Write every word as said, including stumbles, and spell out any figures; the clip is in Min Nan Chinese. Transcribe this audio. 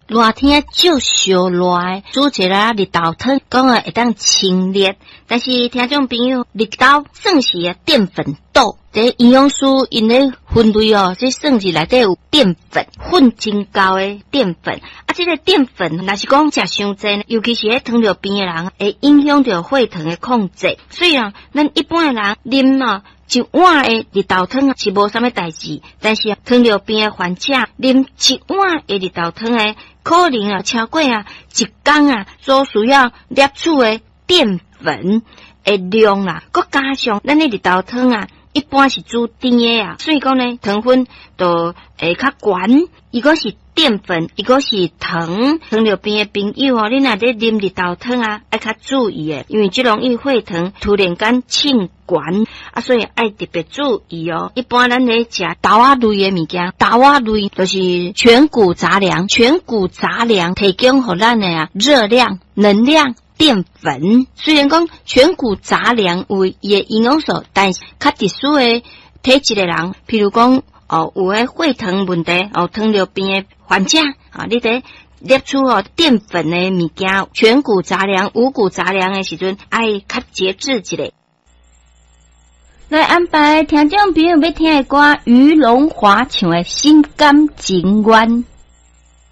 熱天足燒熱的，煮一个綠豆湯，講啊會當清熱。但是聽眾朋友，綠豆算是澱粉豆，這營養師𪜶咧分類哦，這算是內底有澱粉，粉真高的澱粉。啊，這個澱粉若是講食傷濟，尤其是彼糖尿病的人，會影響著血糖的控制。所以啊，咱一般的人啉哦一碗的綠豆湯是無啥物代誌，但是糖尿病的患者啉一碗的綠豆湯的，可能啊超過啊一工啊所需要攝取的澱粉的量啦，閣加上咱的綠豆湯啊，一般是煮甜的啊，所以講呢，糖分就會較懸。一個是澱粉，一個是糖。糖尿病的朋友哦，你若咧啉綠豆湯啊，愛較注意的，因為這容易血糖突然間衝懸啊，所以愛特別注意哦。一般咱咧食豆仔類的物件，豆仔類就是全穀雜糧，全穀雜糧提供予咱的啊熱量、能量、澱粉。雖然講全穀雜糧有伊的營養素，但是較特殊的體質的人，譬如講哦，有彼血糖問題哦，糖尿病的患者啊，你佇攝取哦澱粉的物件，全穀雜糧、五穀雜糧的時陣，愛較節制一下。來安排聽眾朋友欲聽的歌，余榮華唱的《心甘情願》。